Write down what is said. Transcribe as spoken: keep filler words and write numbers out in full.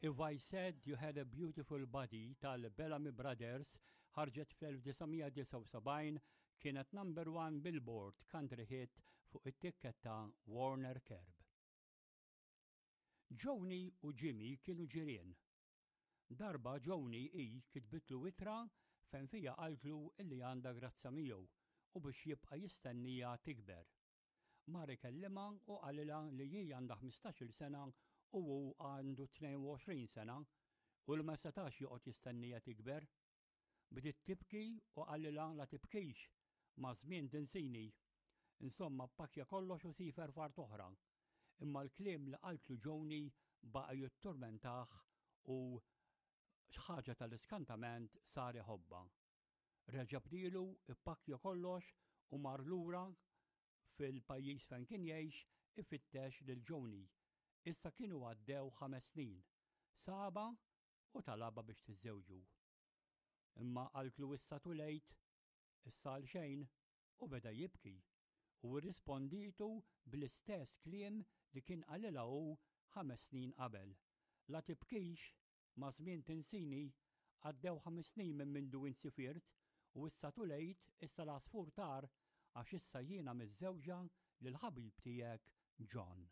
If I Said You Had a Beautiful Body tal-Bellamy Brothers ħarġet fl-elf disa' mija disgħa u sebgħin, kienet number one Billboard country hit fuq it-tikketta Warner Curb. Joni u Jimmy kienu ġirien. Darba Joni i kitbitlu ittra fejn fija qaltlu illi għandha grazza miegħu u biex jibqa' jistennija tikber. Mar ikellimha u qalilha li hi għandha ħmistax-il sena u hu għandu tnejn u għoxrin sena u li ma setax joqgħod jistennija tikber. Bdiet tibki u qalilha la tibkix, maż-żmien tinsini. Insomma, pakkja kollox u siefer f'art oħra. Imma l-kliem li qaltlu Joni baqa' jitturmentah u ħaġa tal-iskantament, sar iħobbha. Reġa' bdielu, ippakkja kollox u mar lura fil-pajjiż fejn kien jgħix ifittex lil Joni. Issa kienu għaddew ħames snin. Sabha u talabha biex tiżżewġu. Imma qaltlu issa too late, issa għal xejn, u beda jibki u rrispondietu bl-istess kliem li kien qalilha hu ħames snin qabel. La tibkix, maż-żmien tinsini, għaddew ħames snin minn mindu int sifirt u issa too late, issa l-għasfur tar għax issa jiena miżżewġa lil ħabib tiegħek John.